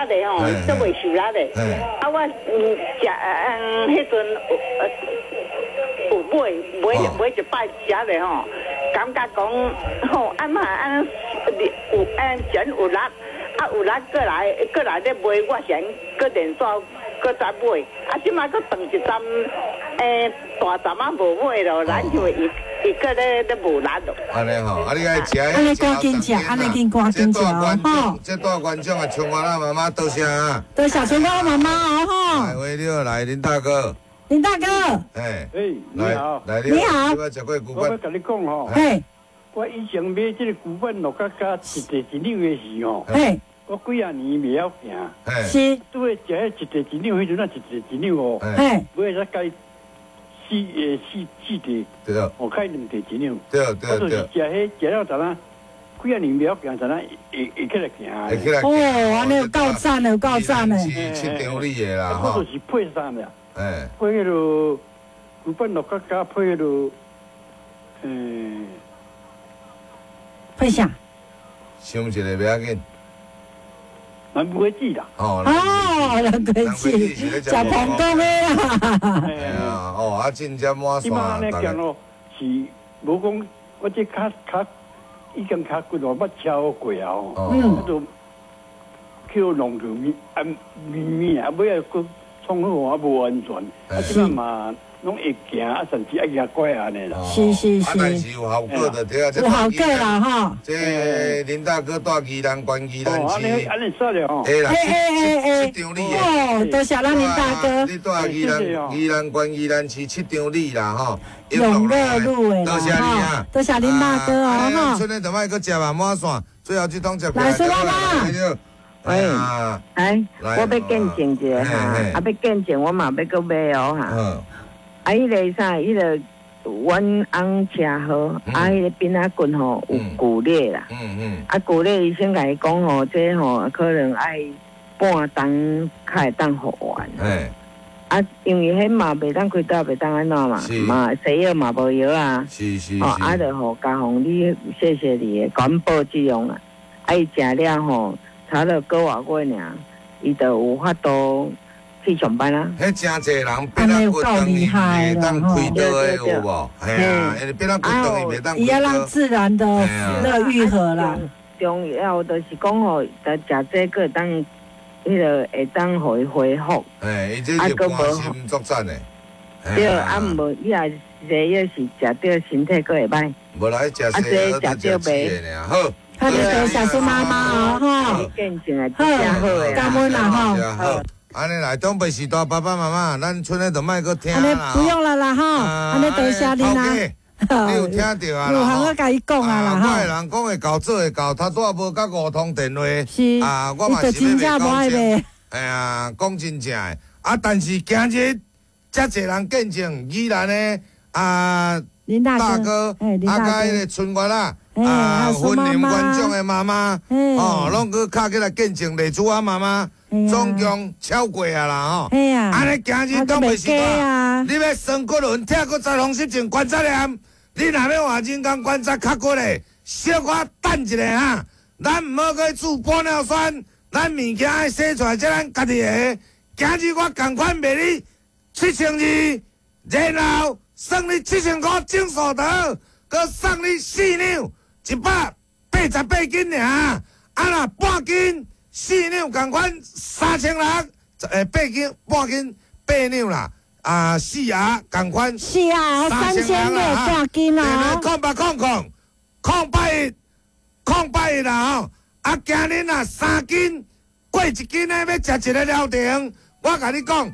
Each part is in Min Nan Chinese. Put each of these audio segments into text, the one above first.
的吼，足袂受力的。啊，我食彼陣有買一擺食咧吼，感覺講吼，按嘛按有按真有力，啊有力過來咧買，我先閣連續閣再買，啊這擺閣斷一針，大針仔無買咯，咱就伊閣咧無力咯。按呢吼，啊你愛食，按呢趕緊食，按呢緊趕緊食哦。這大觀眾啊，春花媽媽多謝啊。多謝春花媽媽哦吼。來，喂，你好，來林大哥。林大哥。哎。哎，你好。來，你好。我欲共你講吼。嘿。我以前買這個龜板樂甲加一塊一兩的時吼。嘿。我幾仔年袂曉行。是。拄咧食彼一塊一兩，彼陣仔一塊一兩哦。嘿。買才加四塊。對。哦，開兩塊一兩。對對對。我就是食彼食了陣仔，幾仔年袂曉行，陣仔會起來行。會起來。哦，按呢有夠讚的，有夠讚的。是七張里的啦，我就是配啥爾？哎。配彼个龜板樂甲加配彼个，配啥？想一个袂要緊。南瓜子啦。哦，南瓜子，食膨公的啦。哎呀，哦，啊，真正滿線。這擺按呢行路是無講，我這跤已經跤骨頭捌超過啊吼。啊，就去弄著物啊物物啊，尾仔閣創好啊無安全。啊，這擺嘛。攏會行啊，甚至愛舉拐按呢啦。是是是。啊，但是有效果就對啊。有效果啦吼。這林大哥蹛宜蘭縣宜蘭市。哦，按呢煞了吼。會啦，欸七張里的。哦，多謝咱林大哥。你蹛宜蘭縣宜蘭市七張里啦吼。永樂路的多謝你啊。多謝林大哥哦吼。春日就莫閣食嘛滿線，最後這通食。來，蘇媽媽。喂，哎，我欲見證一下哈，啊，欲見證我嘛欲閣買哦哈。啊！彼个啥，彼个阮翁車禍，啊，彼个邊仔骨吼有骨裂啦。啊，骨裂醫生共伊講吼，這吼可能愛半冬較會當復原。啊，因為彼嘛袂當開刀，袂當按怎嘛，嘛西藥嘛無藥啊。是是。吼，啊，就予加予你，謝謝你的環保這樣啊。啊，伊食了吼，差了個外月爾，伊就有法度去上班啦！彼誠濟人變仔骨斷伊袂當開刀的有無？嘿啊，因為變仔骨斷伊袂當開刀。伊要讓自然的那愈合啦。重要就是講吼，食這個當，彼个會當予伊恢復。嘿，伊這是關心作戰的。對，啊，無伊若西藥是食著身體閣會歹。無來食西藥，食著袂。好。他就多謝蘇媽媽哦，吼。好，感恩啦，吼。按呢來，長輩時代爸爸媽媽，咱賰的就莫閣聽啦。不用了啦，吼，按呢多謝你啦。你有聽著啊？有，我共伊講啊啦，吼。我的人講會到做會到，他拄仔無佮五通電話。是。啊，我嘛是欲講真。哎呀，講真正的。啊，但是今日遮濟人見證，宜蘭的啊大哥，啊，佮彼个春月仔，啊，雲林縣長的媽媽，哦，攏閣敲起來見證麗珠仔媽媽。總共超過啊啦吼！按呢今日長輩時代，你欲酸骨輪、拆骨節風濕症、關節炎，你若欲換人工關節較骨的，小可等一下哈。咱毋好閣去注玻尿酸，咱物件愛洗出來，這咱家己的。今日我仝款賣你7200，然後算你7000箍總數得，閣送你四兩188斤爾。啊若半斤。四兩仝款3600，八斤半斤八兩啦，啊四盒仝款四盒3600半斤啊！ 0800 081 081啦吼，啊今日若三斤過一斤的欲食一个療程，我共你講，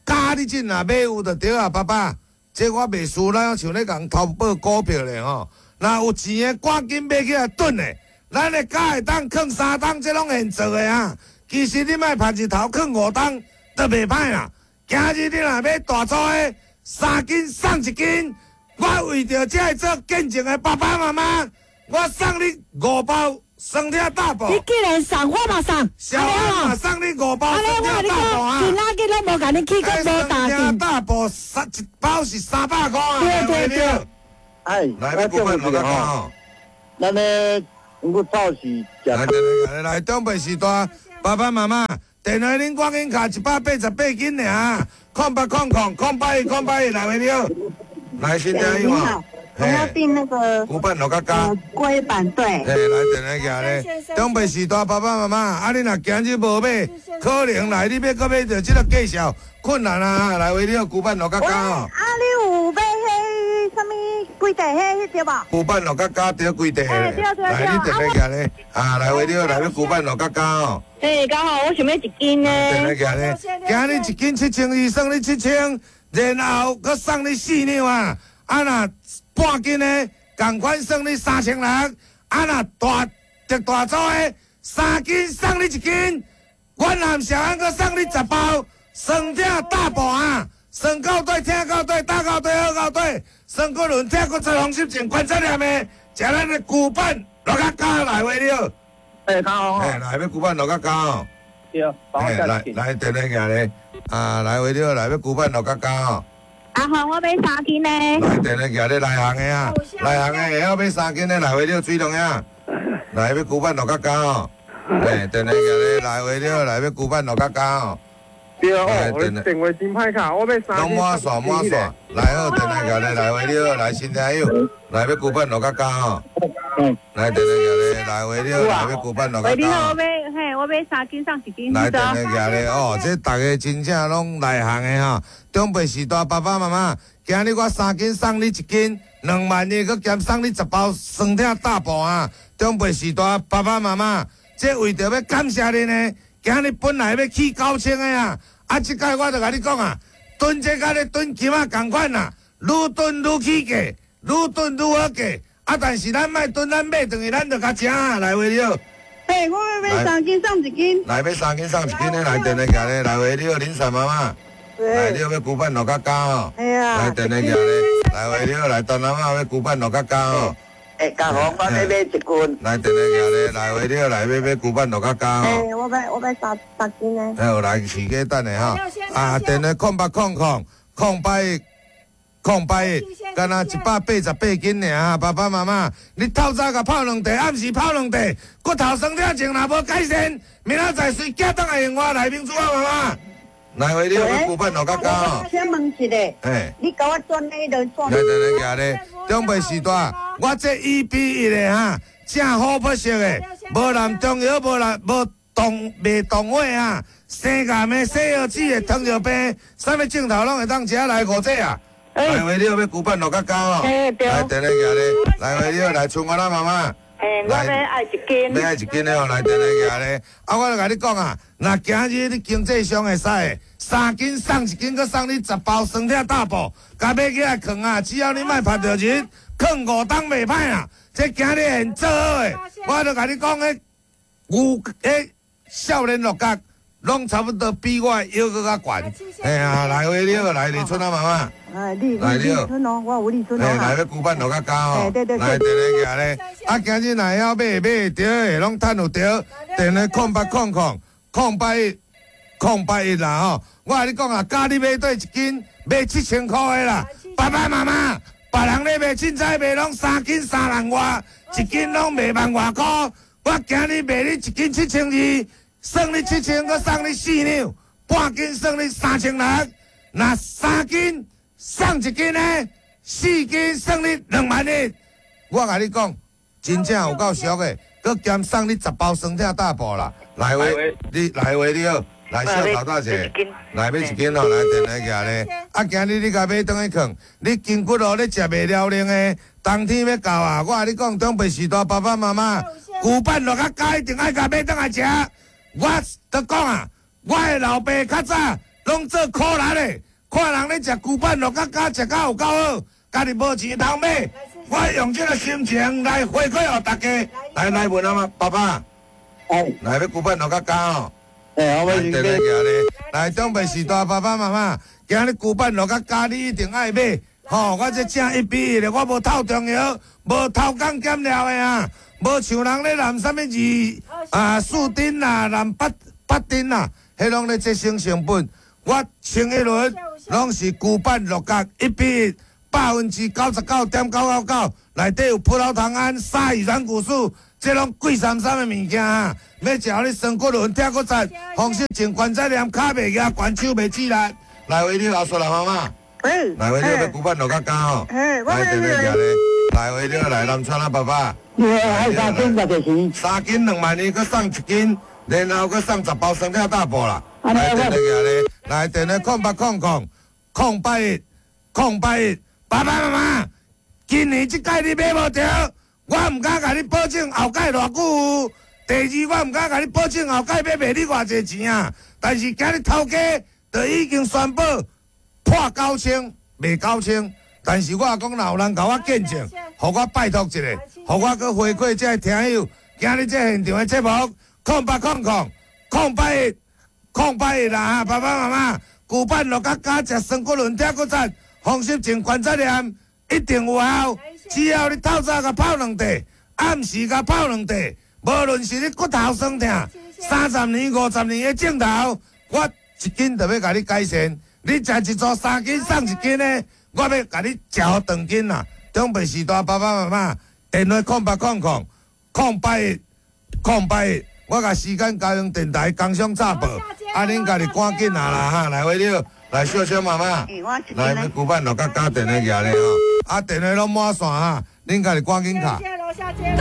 加你這若買有就對啊，爸爸，這我袂輸，咱像咧共投報股票咧吼，若有錢的趕緊買起來囤的。咱的鉸會當囥三冬，這攏現做的啊！其實你莫曬日頭囥五冬都袂歹啦。今日你若買大組的，三斤送一斤，我為著這个做見證的爸爸媽媽，我送你五包酸痛大補。你既然送，我嘛送。小我嘛送你五包酸痛大補啊！今仔日攏無共你去，閣無大酸痛大補三一包是300箍啊！對對對。哎，來，欲顧問我講吼，咱咧。我早是來來來，長輩時代，爸爸媽媽，電話恁趕緊敲188斤爾，080008 108 1，來，喂，你好，來新聽友吼。我要訂那個古板六角加龜板對。嘿，來電話寄咧。長輩時代爸爸媽媽，啊，你若今日無買，可能來你欲閣買著這個介紹困難啊！來，喂，你好，古板六角加哦。啊，你有買彼啥物規地彼對無？古板六角加對規地。欸，對對對。來，你電話寄咧。啊，來，喂，你好，來欲古板六角加哦。欸，剛好我想欲一斤呢。電話寄咧，今日一斤7200，算你7000，然後閣送你4兩啊！啊若半斤的，仝款算你3600。啊若大特大組的，3斤送你1斤，阮南小安閣送你10包，酸痛大補啊！酸到底、痛到底、打到底、好到底，酸骨轮、痛骨质、风湿症、关节炎的，食咱的古板六角加來話了。欸，較好。欸，來欲古板六角加哦。對，來來電話寄咧，啊來話了，來欲古板六角加哦。阿紅，我買3斤呢。來，電話寄咧內行的啊，內行的會曉買3斤的來話了水龍啊，來欲古板六角加哦。欸，電話寄咧來話了，來欲古板六角加哦。對哦，我電話真歹敲，我買3斤。攏滿線滿線，來好，電話寄咧來話了，來新聽友，來欲古板六角加哦。來電話寄咧來話了，來欲古板六角加。喂，你好，我買嘿，我買3斤送1斤。來電話寄咧哦，這逐家真正攏內行的吼。長輩時代爸爸媽媽，今日我3斤送你1斤，2萬一，閣兼送你10包酸痛大補啊！長輩時代爸爸媽媽，這為著欲感謝恁呢，今日本來欲起9000的啊，啊，這擺我就共你講啊，囤這佮咧囤金仔仝款啊，愈囤愈起價，愈囤愈好價，啊，但是咱莫囤，咱買轉去，咱就較食啊，來話你好。嘿，我欲買3斤送1斤。來買3斤送1斤的，來電話寄咧，來話你好，林嬸媽媽。來，你好，欲古板六角加哦。來電話寄咧，來話你好，來陳阿媽欲古板六角加哦。欸，嘉宏，我欲買1斤。來電話寄咧，來話你好，來欲買古板六角加哦。欸，我欲3斤呢。好，來市價等下哈。啊，電話0800 081 081，敢若188斤爾，爸爸媽媽，你透早共泡兩茶，暗時泡兩茶，骨頭酸痛症若無改善，明仔載隨寄轉來用我來明珠啊，媽媽。來回你好，欲古板六角加哦。我請問一下，欸，你共我轉彼个轉。來來來，寄咧，長輩時代，我這1比1的哈，正好不熟的，無含中藥，無含無動袂動火啊，生癌的、西藥子的、糖尿病，啥物症頭攏會當食來五隻啊。來回你好，欲古板六角加哦。欸，對。來電話寄咧，來回你好，來春花啦媽媽。欸，我欲愛1斤。欲愛1斤的哦，來電話寄咧。啊，我就共你講啊，若今日你經濟上會使的，3斤送1斤，閣送你10包酸痛大補，共買起來囥啊，只要你莫拍著日，囥5冬袂歹啦。這今日現做好的，我就共你講，彼牛，彼少年鹿角，攏差不多比我的腰閣較懸。嘿啊，來話你好，來李春啊媽媽。哎，李李春哦，我有李春哦。來欲古板六角加哦。對對對。來電話寄咧，啊，今日若會曉買買著的，攏趁有著。電話0800 081 081啦吼。我共你講啊，教你買對1斤，賣7000箍的啦。爸爸媽媽，別人咧賣凊彩賣攏3斤3萬外，1斤攏賣萬外箍。我今日賣你1斤7200，算你7000，閣送你4兩，半斤算你3600。若3斤送1斤呢，4斤算你2萬一。我共你講，真正有夠俗的，閣兼送你10包酸痛大補啦。來話你來話你好，來小頭大姐，來買1斤哦，來電話寄咧。啊，今日你共買轉去囥，你筋骨路咧食袂了冷的，冬天欲到啊！我共你講，長輩時代爸爸媽媽，古板六角加一定愛共買轉來食。我都講啊，我的老爸較早攏做苦力的，看人咧食古板六角加食甲有夠好，家己無錢通買。我用這個心情來回饋予大家。來來問阿媽，爸爸，來欲古板六角加哦。欸，我來電話寄咧，來長輩時代爸爸媽媽，今日古板六角加你一定愛買。吼，我這正1比1的，我無透中藥，無偷工減料的啊，無像人咧含啥物2啊4丁啦，含8丁啦，彼攏咧節省成本。我穿一輪攏是古板六角1比1，99.999%，內底有葡萄糖胺、鯊魚軟骨素、这拢贵杉杉的物件哈，欲食予你酸骨轮、疼骨节，风湿症、关节炎、跤袂举、悬手袂起来。来位你后说啦，妈妈。来位你欲古板落较加吼。来电话举咧。来位你来南川啊，爸爸。爱3斤偌济钱？3斤2万2，阁送1斤，然后阁送10包酸痛大补啦。来电话举咧，来电话0800 081 081，爸爸妈妈，今年这届你买无著，我毋敢共你保证后盖偌久有。第二，我毋敢共你保证后盖欲卖你偌济钱啊。但是今日头家就已经宣布破9000，卖9000。但是我讲，若有人共我见证，予我拜托一下，予我阁回馈这个听友。今日这现场的节目，0800 081 081啦，爸爸妈妈，古板落甲加食酸骨轮疼骨节，风湿症关节炎一定有效。只要你透早共泡两块，暗时共泡两块，无论是你骨头酸痛，30年、50年的症头，我一斤就欲共你改善。你食一组3斤送1斤的，我欲共你食予长斤啦。中北时代爸爸妈妈，电话0800 081 081，我共时间交用电台工商插播，啊，恁家己赶紧啊啦哈，来位你来小小妈妈，来欲古板落甲加电话举咧吼，啊，电话拢满线哈，恁家己赶紧敲。